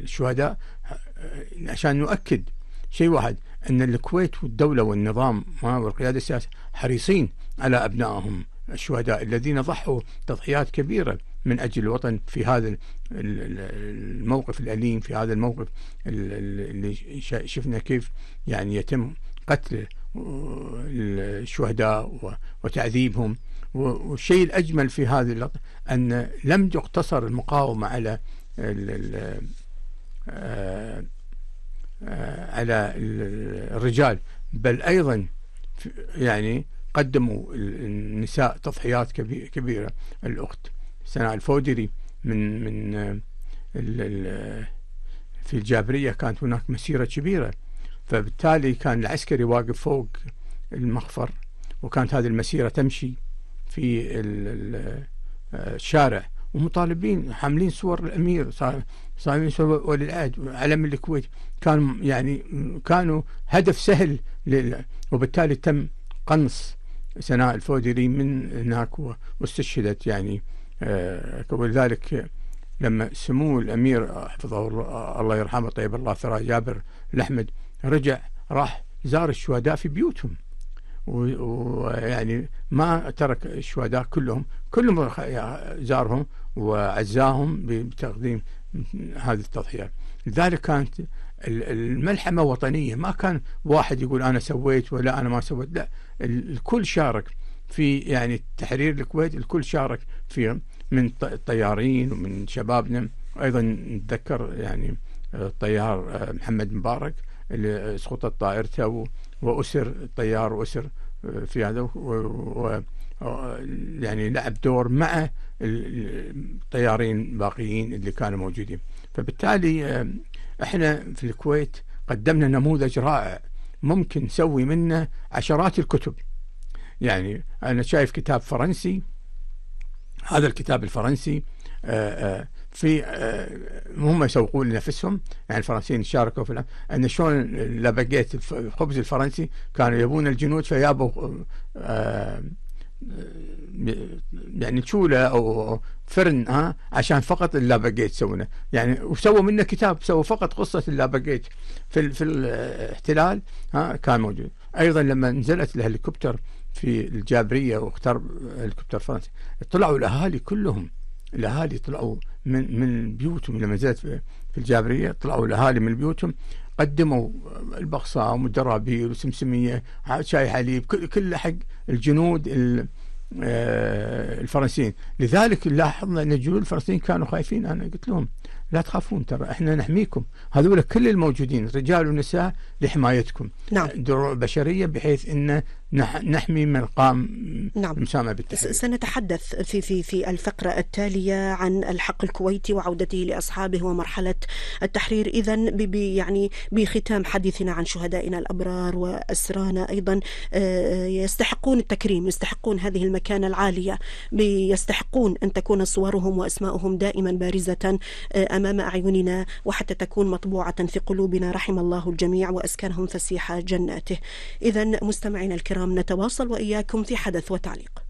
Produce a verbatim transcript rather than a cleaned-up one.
الشهداء عشان نؤكد شيء واحد، أن الكويت والدولة والنظام والقيادة السياسية حريصين على أبنائهم الشهداء الذين ضحوا تضحيات كبيرة من أجل الوطن في هذا الموقف الأليم، في هذا الموقف اللي شفنا كيف يعني يتم قتل الشهداء وتعذيبهم. والشيء الأجمل في هذه اللقطة أن لم تقتصر المقاومة على على الرجال، بل أيضا يعني قدموا النساء تضحيات كبيرة. الأخت سناء الفودري من من في الجابرية كانت هناك مسيرة كبيرة، فبالتالي كان العسكري واقف فوق المخفر، وكانت هذه المسيرة تمشي في الشارع ومطالبين حاملين صور الأمير، صاحبين صور ولي العهد علم الكويت، كانوا يعني كانوا هدف سهل، وبالتالي تم قنص سناء الفودري من هناك واستشهدت يعني. ولذلك لما سمو الأمير حفظه الله يرحمه طيب الله ثراه جابر الأحمد رجع راح زار الشهداء في بيوتهم، ويعني ما ترك الشهداء كلهم كلهم زارهم وعزاهم بتقديم هذه التضحيات. لذلك كانت الملحمة وطنية، ما كان واحد يقول أنا سويت ولا أنا ما سويت، لا، الكل شارك في يعني تحرير الكويت، الكل شارك فيه من الطيارين ومن شبابنا. أيضا نتذكر يعني الطيار محمد مبارك اللي سقطت طائرته وأسر الطيار وأسر في هذا، و يعني لعب دور مع الطيارين الباقيين اللي كانوا موجودين. فبالتالي احنا في الكويت قدمنا نموذج رائع ممكن نسوي منه عشرات الكتب. يعني أنا شايف كتاب فرنسي، هذا الكتاب الفرنسي في هم يسوقون لنفسهم، يعني الفرنسيين شاركوا في أن شلون لاباجيت الخبز الفرنسي كانوا يبون الجنود فيابوا يعني تشولة أو فرن ها عشان فقط اللاباجيت يسوونه يعني، وسووا منه كتاب، سووا فقط قصة اللاباجيت في في الاحتلال ها كان موجود. أيضا لما نزلت الهليكوبتر في الجابرية واختار هليكوبتر فرنسي، طلعوا الأهالي كلهم، الأهالي طلعوا من من بيوتهم لما نزلت في الجابرية، طلعوا الأهالي من بيوتهم قدموا البقصام والدرابيل وسمسمية شاي حليب كل حق الجنود الفرنسيين. لذلك لاحظنا أن الجنود الفرنسيين كانوا خايفين، أنا قلت لهم لا تخافون، ترى احنا نحميكم، هذول كل الموجودين رجال ونساء لحمايتكم. نعم. دروع بشرية بحيث ان نحمي من قام نعم. المساهمة بالتحرير. سنتحدث في في في الفقرة التالية عن الحق الكويتي وعودته لأصحابه ومرحلة التحرير. إذن يعني بختام حديثنا عن شهدائنا الأبرار وأسرانا، أيضا يستحقون التكريم، يستحقون هذه المكانة العالية، يستحقون أن تكون صورهم وأسماءهم دائما بارزة أمام أعيننا، وحتى تكون مطبوعة في قلوبنا. رحم الله الجميع وأسكنهم فسيح جناته. إذن مستمعينا الكرام، نتواصل وإياكم في حدث وتعليق.